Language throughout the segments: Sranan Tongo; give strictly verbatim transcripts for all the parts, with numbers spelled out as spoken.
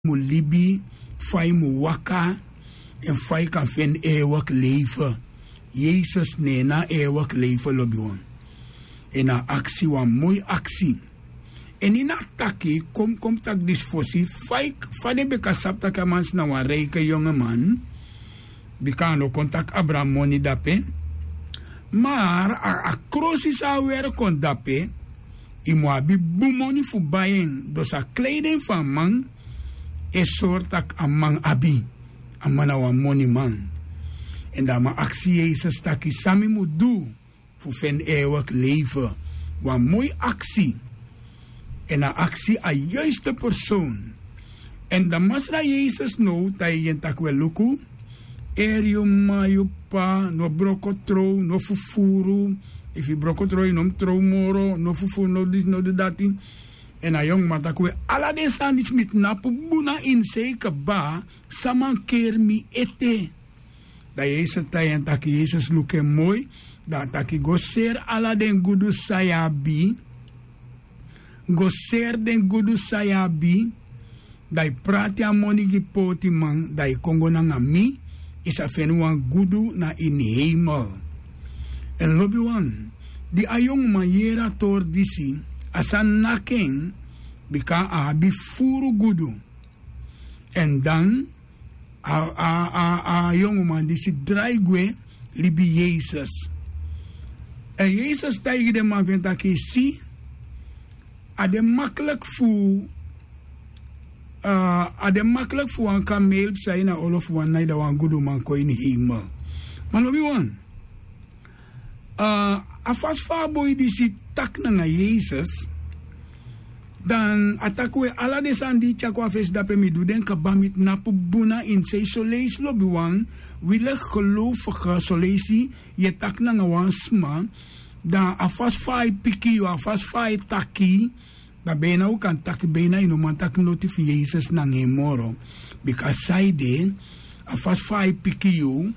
mu libi, fa yu mu waka, èn fa yu kan feni eewiki leifi. Yesus na en na eewiki leifi, lobiwan. Èn a aksi wan moi aksi. Èn ini a taki, kon mi kon mi taki disi fosi, fa yu, fa den bika sabi tak' a man disi na wan reiki yongeman. Bika a no kon taki abra moni dape. Ma a, a krosi san a weri kon dape, yu mu abi bun moni fu bai en. Dus a kleiden fu a man e sori tak' a man abi. A man na wan moniman. Èn dan a man aksi Yesus taki: San mi mu du fu feni eewiki leifi? Wan moi aksi. Èn a aksi a yuiste persoon. Èn dan Masra Yesus now taigi en taki: We, luku, eri yu m'ma, yu p'pa, no broko trow, no fufuru. Efu yu broko trow, yu no mu trow moro, no fufuru, no disi, no du dati. Èn a yonguman taki: We, ala den sani disi mi tnapu bun na ini sei kaba, san mankeri mi ete? Dan Yesus taigi en taki, Yesus luku en moi, dan a taki: Go seri ala den gudu san yu abi. Go seri den gudu san yu abi. Dan yu prati a moni gi pootiman, dan yu kon go nanga mi, yu sa feni wan gudu na ini heimel. Èn lobiwan, di a yonguman yere a tori disi, a sani naki en, bika a abi furu gudu. Èn dan a, a, a, a yonguman disi drai gwe libi Yesus. Èn Yesus taigi den man fu en taki: Si, a de makliki fu, a, a de makliki fu wan kameel psa ini a olo fu wan nai, dan wan guduman kon ini heimel. Ma lobiwan, a, a fasi fa a boi disi taki nanga Yesus, dan a taki: We, ala den sani di yu tyari kon a fesi dape, mi du den kaba, mi tnapu bun na ini sei. Soleisi lobiwan, wi leki gelofigen, soleisi yu e taki nanga wan sma, dan a fasi fa a e piki yu, a fasi fa a e taki, dan beina wi kan taki beina yu no man taki noti fu Yesus nanga en moro. Bika saide, a fasi fa a e piki yu,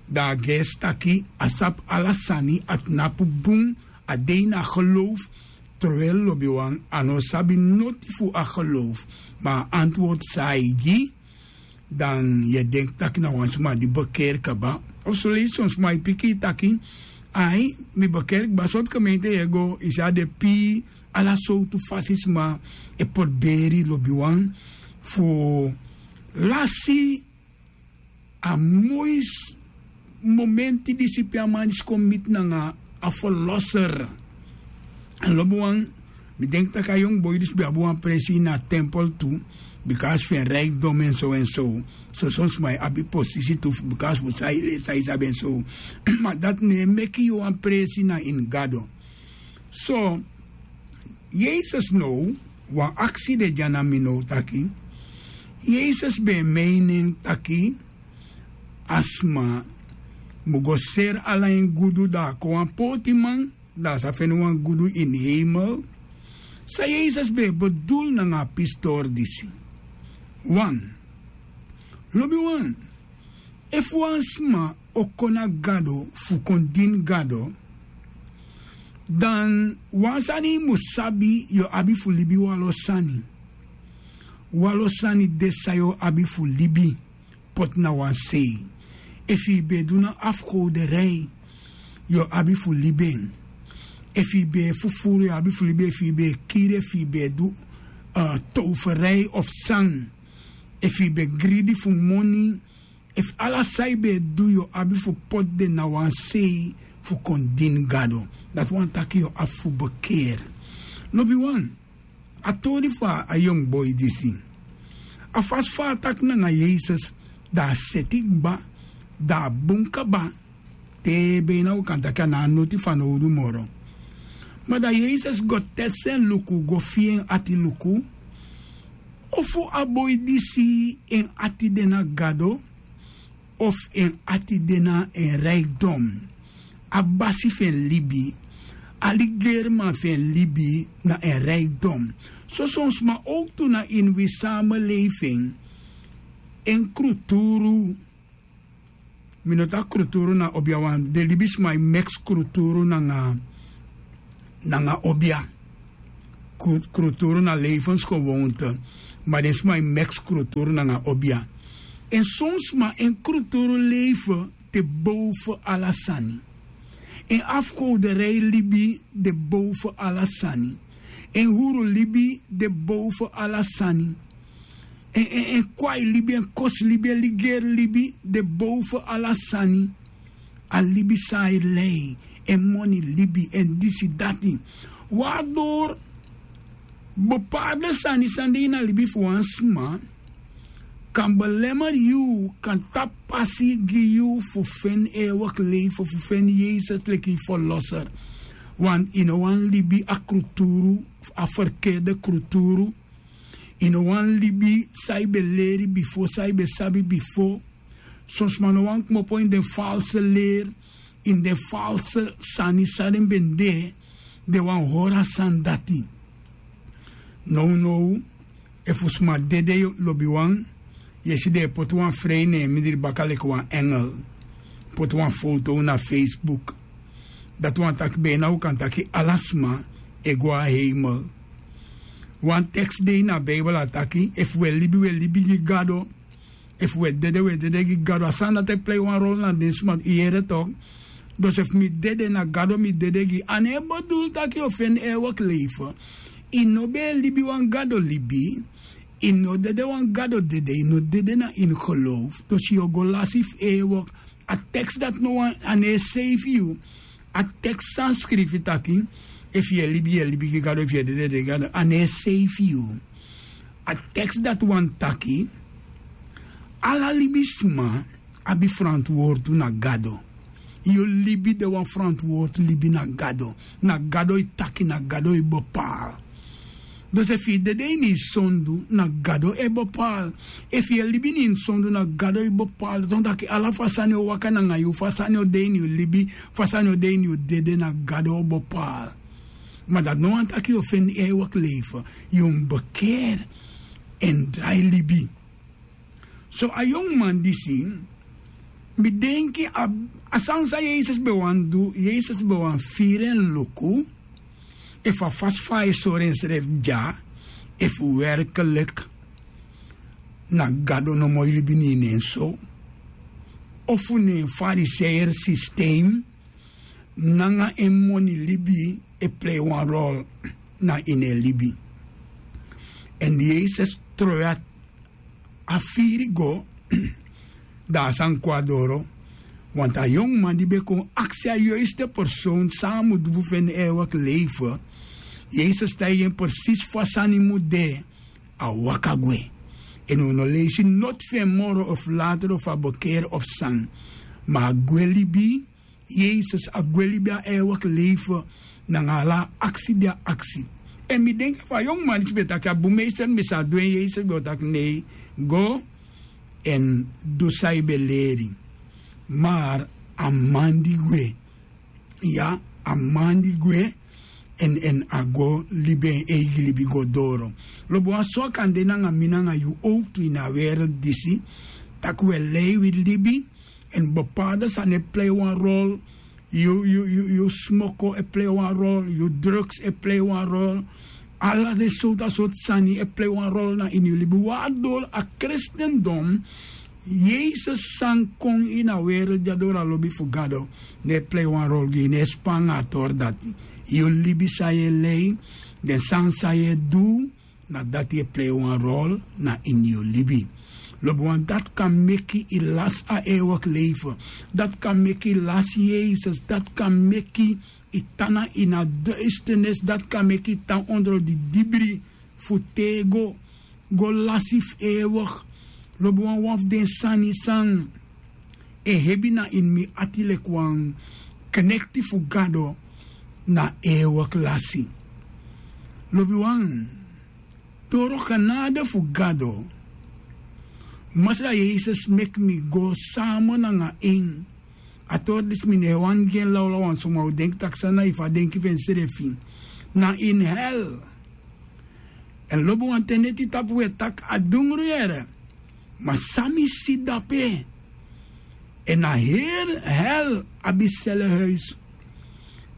dan a gersi taki a sabi ala sani, a tnapu bun, a de ini a geloof. Terwijl lobiwan, a no sabi noti fu a geloof, ma a antwoord san a e gi, dan yu e denki taki na wan sma di bekeer kaba. Of soleisi son sma e piki yu taki: Ai, mi bekeer kaba. Sortu gemeente yu e go, yu si a de pii, ala sowtu fasi sma e porberi, lobiwan, fu lasi a moi momenti disi pe a man disi kon miti nanga a Verlosser. Èn lobiwan, mi denki tak' a yongu boi disi ben abi wan presi ini a tempel tu, bika fu en rijkdom èn so èn so. So son sma e abi posisi tu, bika fu san yu sabi èn so. Ma dati no e meki yu wan presi na ini Gado. So, Yesus now, wan aksi de dya na mi now taki, Yesus ben e meini en taki a sma mu go seri ala en gudu, dan a kon wan pootiman, dan a sa feni wan gudu ini heimel. San Yesus ben e bedul nanga a pisitori disi? Wan, lobiwan, efu wan sma o kon na Gado fu kon dini Gado, dan wan sani yu mu sabi, yu o abi fu libi wanlo sani. Wanlo sani de san yu o abi fu libi, poti na wan sei. Efu yu ben e du na afgoderij, yu o abi fu libi en. Efu yu ben e fufuru, yu o abi fu libi en. Efu yu ben e kiri, efu yu ben e du, eh, toverij of san, efu yu ben e gridi fu moni, efu ala san yu ben e du, yu o abi fu poti den na wan sei fu kon dini Gado. Dati wani taki yu o abi fu bekeri. Lobiwan, a tori fu a yongu boi disi, a fasi fa a taki nanga Yesus, dan a seti kba, dan a bun kaba, te beina wi kan taki a no abi noti fanowdu moro. Ma dan Yesus go tesi en luku, go fii en ati luku, ofu a boi disi en ati de na Gado, ofu en ati de na en rijkdom, a basi fu en libi, a ligeriman fu en libi na en rijkdom. So son sma owktu na ini wi samenleving, en kruturu, mi no taki kruturu na obiawan, den libisma e meks kruturu nanga, nanga obia. Kru-, kruturu na levensgewoonte. Ma den sma e meks kruturu nanga obia. En son sma en kruturu leife de boven ala sani. En afkowderei libi de boven ala sani. En huru libi de boven ala sani. En en en kwai libi en kosi libi en ligeri libi de boven ala sani. A libi san a e lei, en moni libi, en disi dati. Wan a dori bepaalde sani san de ini a libi fu wan sma kan belemeri yu, kan tapu pasi gi yu fu feni ewigen leife, fu feni yesus leki yu ferloser. Want yu no wani libi a kruturu, a ferkerde kruturu. Yu no wani libi san yu ben leri bifo, san yu ben sabi bifo. Son sma no wani kmopo ini den false leri, ini den false sani san den ben de. Den wani hori a sani dati. Nownow, efu sma dede, lobiwan, yu e si den e poti wan frei na en mindri baka leki wan engel. Poti wan foto na facebook. Dati wani taki bena un kan taki ala sma e go na heimel. Wan teks de ini a beibel a taki efu un e libi un e libi gi gado. Efu un e dede un e dede gi gado a sani dati e plei wan rol na den sma yu yere tok. Dus efu mi dede na gado mi dede gi a no e bedul taki yu o feni ewigen leife. Yu no ben e libi wan gado libi. Yu no dede wan gado dede yu no dede na ini geloof dus yu o go lasi fu ewigen. A teks dati no wan a no e seifi yu. A teks san skrifi taki efu yu e libi yu e libi gi gado efu yu e dede dede gi gado a no e seifi yu. A teks dati wani taki ala libisma abi frantwortu na gado. Yu libi de wan frantwortu libi na gado. Na gado e taki na gado e bepaal. Dus efu yu dede ini yu sondu na gado e bepaal. Efu yu e libi ini yu sondu na gado e bepaal dati wani taki ala fu a sani o waka nanga yu fu a sani o de ini yu libi fu a sani o de ini yu dede na gado o bepaal. Ma dati no wani taki yu o feni ewigen leife. Yu mus bekeri èn drai libi. So a yongu man disi mi denki a sani san yesus ben wani du yesus ben wani firi en luku efu a fasi fa a e sori ensrefi dya efu werkelik na gado nomo e libi na ini en so ofu na en fariseier sistem nanga en moni libi e plei wan rol na ini en libi. Èn yesus troi a firi go dan a sani kon na doro. Wantu a yongu man di ben kon aksi a yoiste person san a mu du fu feni ewigen leife. Yesus taigi en presisi fa sani mu de. A waka gwe. Èn un no leisi noti fu en moro of later of a bekeri of san ma a gwe libi. Yesus a gwe libi a ewigen leife nanga ala a aksi di a aksi. Èn mi denki fu a yongu man disi ben taki a bun meester mi sa du en yesus ben o taki nei go èn du san yu ben leri. Mar a man di gwe ya a man di gwe èn èn a go libi en eigi libi go doro. Lobi wan so a kan de nanga mi nanga yu owktu ini a wereldi disi tak' wi e lei wi libi. Èn bepaalde sani e plei wan rol. Yu yu yu smoko e plei wan rol yu drugs e plei wan rol. Ala den sowtu a sortu sani e plei wan rol na ini yu libi wan a doro a kristendom. Yesus san kon ini a wereldi a doro a lobi fu gado no e plei wan rol gi yu no e span nanga a tori dati. Yu libi san yu e lei den sani san yu e du na dati e plei wan rol na ini yu libi. Lobi wan dati kan meki yu lasi a ewigen leife. Dati kan meki yu lasi yesus dati kan meki yu tan na ini a duisternis dati kan meki yu tan ondro di dibri fu tego go lasi fu ewig. Lobi wan wan fu den sani san e hebi na ini mi ati leki wan knekti fu gado na ewig lasi. Lobi wan doro genade fu gado. Masra yesus meki mi go sama nanga en. A tori disi mi no e wani gi en lawlaw wan suma o denki tak' san na yu fu a denki fu ensrefi na ini hel. Èn lobi wan ten neti tapu wi e taki a dungru yere. Ma san mi si dape èn a heri hel abi selehuis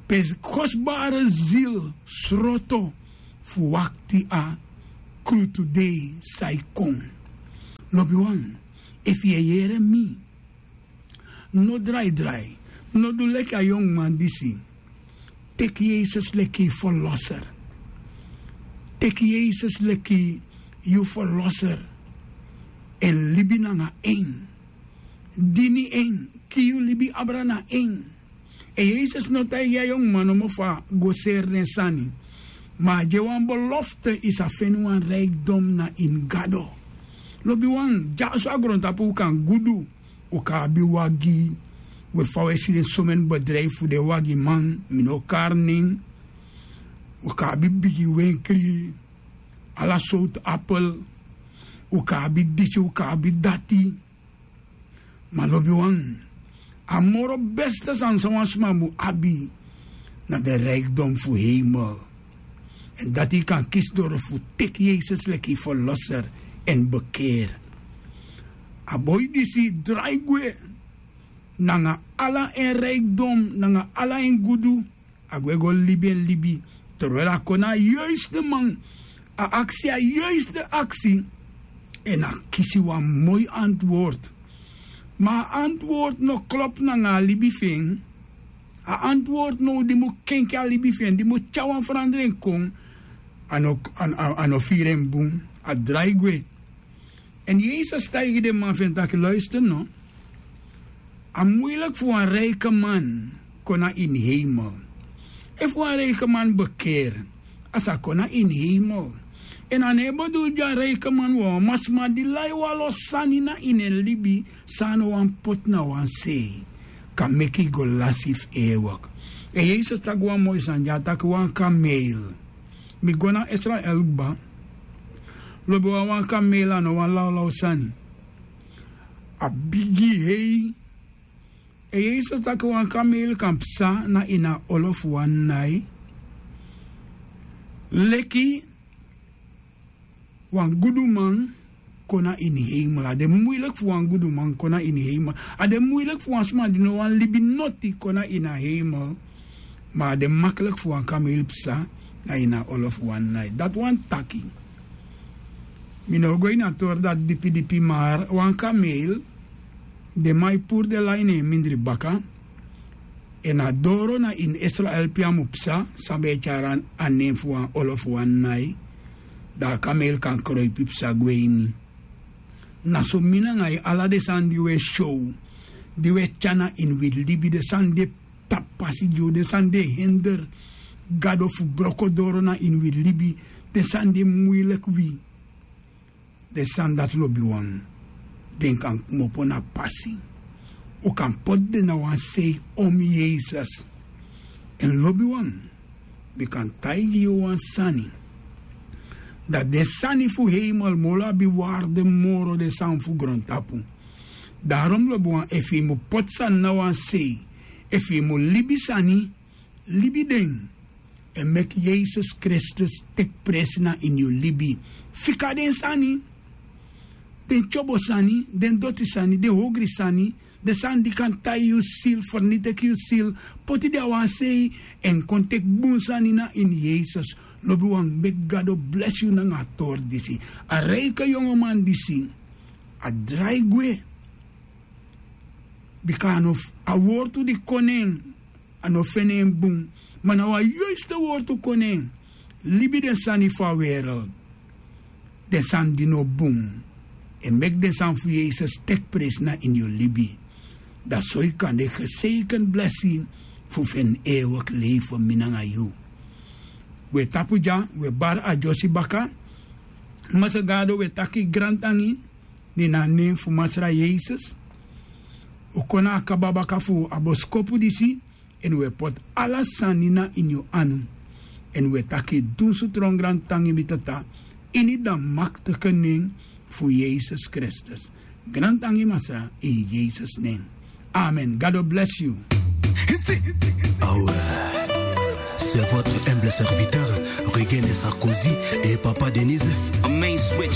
pe kosbare zil sroto fu wakti a krutu dei san e kon. Lobiwan, efu yu e yere mi, no drai drai. No du leki a yonguman disi. Teki yesus leki yu ferloser. Teki yesus leki yu ferloser. Èn libi nanga en. Dini en. Gi yu libi abra na en. Èn yesus no taigi a yonguman nomo fu a go seri den sani. Ma a gi en wan belofte, yu sa feni wan rikdom na ini gado. Lobiwan, dyaso a grontapu un kan gudu. Un kan abi wagi. We fa un e si den someni bedrijfu fu den wagiman, mi no o kari nen. Un kan abi bigi wenkri. Ala sowtu apel. Un kan abi disi, un kan abi dati. Ma lobiwan, a moro beste sani san wan sma mu abi, na den rikdom fu heimel. Èn dati yu kan kisi doro fu teki yesus leki yu ferloser èn bekeri. A boi disi drai gwe nanga ala en rikdom, nanga ala en gudu. A gwe go libi en libi. Terwijl a kon na a yuiste man, a aksi a yuiste aksi. Èn a kisi wan moi antwoord. Ma a antwoord no klopu nanga a libi fu en. A antwoord now di mu kenki a libi fu en, di mu tyari wan feranderen kon. A no, a no firi en bun. A drai gwe. Èn yesus taigi den man fu en taki luister no. A muiliki fu wan riki man kon na ini heimel. Efu wan riki man bekeri, a sa kon na ini heimel. Èn a no e bedul gi a riki man wawan, ma sma di lai wan lo sani na ini en libi san a no wani poti na wan sei, kan meki yu go lasi fu ewek. Èn yesus taki wan moi sani, di a taki wan kameil. Mi go na israel kba. Lobi wan wan kameil a no wan lawlaw sani. A bigi hei. Èn yesus taki wan kameil kan psa na ini a olo fu wan nai. Leki wan guduman kon na ini heimel. A de muiliki fu wan guduman kon na ini heimel. A de muiliki fu wan sma di no wani libi noti kon na ini a heimel. Ma a de makliki fu wan kameil psa na ini a olo fu wan nai. Dati wani taki, mi no o go ini a tori dati dipidipi, ma wan kameil, den man e puru den lai na en mindri baka. Èn a doro na ini israel pe a mu psa, san ben e tyari a nen fu wan olo fu wan nai. Dan a kameil kan kroipi psa gwe ini. Na so mi nanga yu, ala den sani di un e syow, di un e tyari na ini wi libi, den sani di e tapu pasi gi un, den sani di e hender gado fu broko doro na ini wi libi, den sani di e muiliki wi. Den sani dati lobiwan, den kan kmopo na pasi. Un kan poti den na wan sei om yesus. Èn lobiwan, mi kan taigi yu wan sani. Dan den sani fu heimel moro abi warde moro den sani fu grontapu. Darom lobiwan, efu yu mu poti sani na wan sei, efu yu mu libi sani, libi den. Èn meki yesus kristus teki presi na ini yu libi. Fika den sani, den tyobo sani, den doti sani, den hogri sani, den sani di kan tai yu sil, ferniteki yu sil, poti den a wan sei, èn kon teki bun sani na ini yesus. Lobiwan, meki gado blesi yu nanga a tori disi. A riki yongoman disi, a drai gwe. Bika a no, a wortu di kon na en, a no feni en bun. Ma na wan yuiste wortu kon na en. Libi den sani fu a wereld. Den sani di no bun. Èn meki den sani fu yesus teki presi na ini yu libi. Dan so yu kan de geseikend blesi fu feni ewek leifi mi nanga yu. Wi e tapu dya, wi e bari a dyosi baka. Masra gado, wi e taki grantangi. Ne na a nen fu masra yesus. Un kon na a kaba baka fu a boskopu disi. Èn un e poti ala sani na ini yu anu. Èn un e taki dunsu tron grantangi mi tata, ini dan makteke nen fu yesus kristus. Grantangi masra, ini yesus nen. Amen. Gado blesi yu. Awe. C'est votre humble serviteur, Regain Sarkozy et Papa Denise. Main switch.